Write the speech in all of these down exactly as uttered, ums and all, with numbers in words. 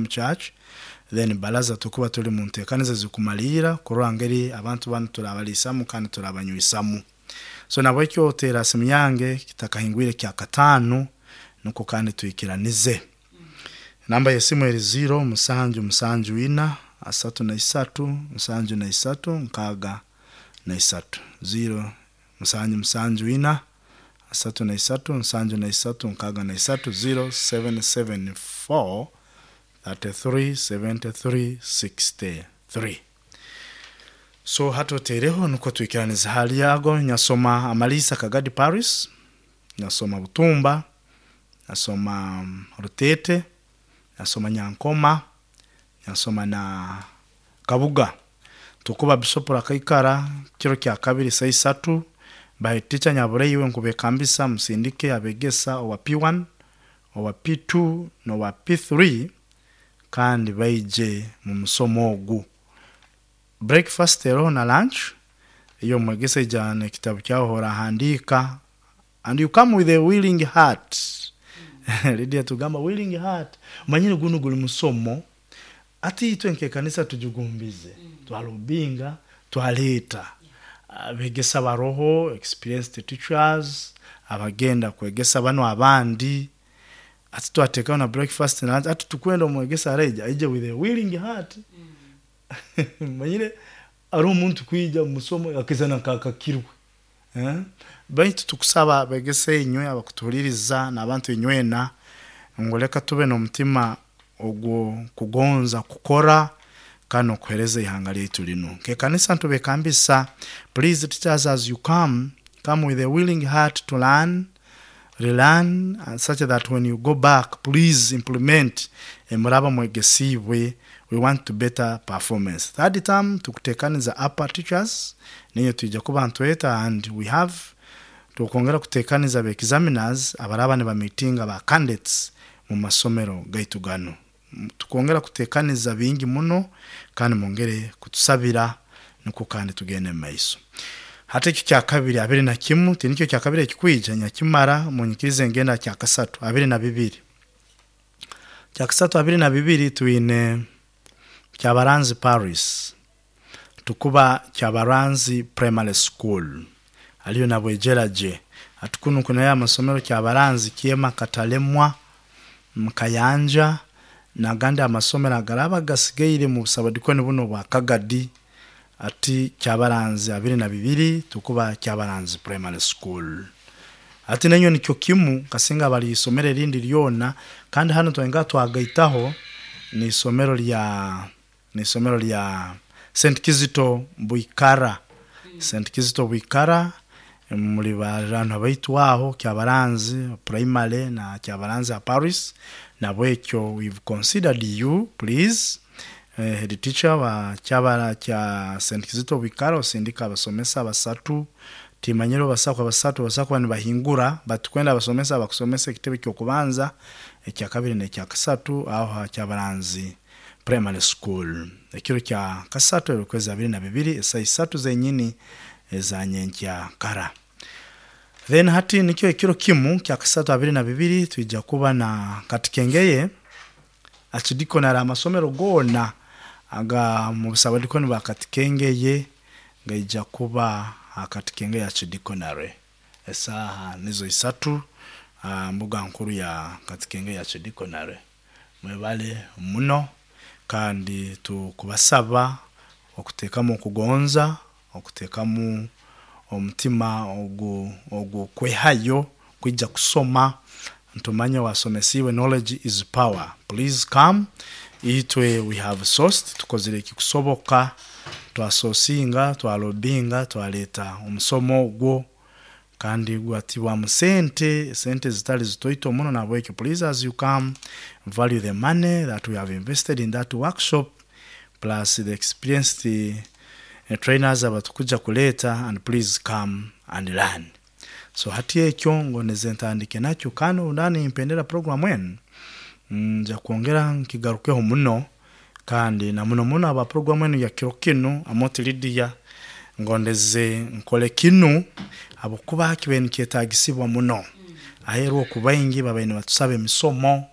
Church. Then baraza tukuba tuli mu nteekaniza zikumalira kurora ngeri abantu banu turabaliisamu kandi turabanywisamu. So nabwekyo teera simu yange kitakahingwire kya kataano, nukwo kandi twikiranize. Namba y'esimu eri ziro musanju musanju ina asatu na isatu musanju na isatu nkaaga na isatu, ziro musanju musanju ina asatu na isatu nsanju na isatu nkaaga na isatu, ziro seven seven four thirty three seventy three sixty three. So hati oteereho nukwo twikiranize hali ago. Nyasoma amaliisa Kagadi Paris, nyasoma Butumba, nyasoma um, Rutete, nyasoma Nyankoma, nyasoma na Kabuga. Tukuba Bishop rakaikara kiro kya kabiri saa isatu baheticha nyabureiwe nkubekambisa musindike abegesa owa P one, owa P two n'owa P three kandi baije mu musomo ogu. Breakfast eroho na lunch. Iyo mwegesa ijana ekitabu kyaho orahandika and you come with a willing heart. Lydia tugamba willing heart, manyire guno guli musomo ati itwe nkekanisa tujugumbize, twalubinga, twaleeta abegesa baroho, experienced teachers abagenda kwegesa bano abandi. Ati twateekaho na breakfast na lunch. Ati tukwenda omwegesa areija aije with a willing heart. Manyire ari omuntu kwija musomo akizana kakakirwe, eh? Baitu tukusaba begese inywe abakutuhuliriza n'abantu inywena ngu leka tube n'omutima ogwo kugonza kukora kandi okuhereza ihanga lyaitu linu. Nkekanisa ntubekambisa, please teachers, as you come, come with a willing heart to learn, relearn, and such that when you go back, please implement emuraba mwegesiibwe. We want to better performance. Third term tukutekaniza upper teachers, niyo twija kuba ntweta, and we have tukwongera kutekaniza ba examiners abaraba nibamitinga ba candidates mu masomero gaitu gano. Tukwongera kutekaniza bingi muno kandi mwongere kutusabira nukwo kandi tugende mu maiso. Hati ekyo kya kabiri abiri na kimu tinikyo kya kabiri ekikwija nyakimara munyikirize ngenda kya kasatu abiri na bibiri. Kya kasatu abiri na bibiri twine Kyabaranzi Paris, tukuba Kyabaranzi Primary School aliyo nabwejeraje. Atukunu kunayo amasomero Kyabaranzi, Kyema, Katalemwa, Mukayanja nagandi amasomero agaraba gasigaire mu busabadikoni buno bwa Kagadi. Ati Kyabaranzi abiri na bibiri tukuba Kyabaranzi Primary School. Ati nenyo nikyo kimu kasinga bali isomero erindi lyona. Kandi hano twenga twagaitaho ni isomero lya ni isomero lya Saint Kizito Buikara, Saint Kizito Buikara. Muli bantu baitu aho Kyabaranzi Primary na Kyabaranzi ya Paris, nabwekyo we've considered you. Please, eh, head teacher wa kyabara kya Saint Kizito Buikara, osindika abasomesa basatu. Timanyiro basakwa basatu basakwa nibahingura batukwenda abasomesa bakusomesa ekitebe kyokubanza, ekya kabiri n'ekya kasatu aho Kyabaranzi Primary School ekiro kya kasatu erukwezi abiri na bibiri esaa isatu zenyini ezanyenkya kara. Then hati nikyo ekiro kimu kya kasatu abiri na bibiri twija kuba na Katikengeye Archdeaconry. Amasomero gona aga mu busabadikoni bwa Katikengeye gaija kuba Katikengeye Archdeaconry esaha nizo isatu, uh, mbuga nkuru ya Katikengeye Archdeaconry. Mwebale muno kandi tukubasaba okuteekamu okugonza, okuteekamu omutima ogu ogukwehayo kwija kusoma. Ntumanye wasomesiibwe, knowledge is power. Please come. Itwe we have sourced, tukozire ekikusoboka, twasosinga, twalobinga, twaleeta omusomo ogwo kandi gwatibwamu sente, sente zitali zitoito muno. Nabwekyo please, as you come, value the money that we have invested in that workshop plus the experienced uh, trainers abatukuja kuleeta, and please come and learn. So hati ekyo ngoneze ntandike nakyo kandi undani mpendera program enu nja kwongera nkigarukeho muno kandi na muno muno aba program enu ya kiro kinu. Amoti Lydia, ngondeze nkole kinu habwokuba kibaire nikyetagisibwa muno aheeru oku baingi babaire nibatusaba emisomo.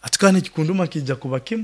Ati kandi ekikunduma kiija kuba kimu.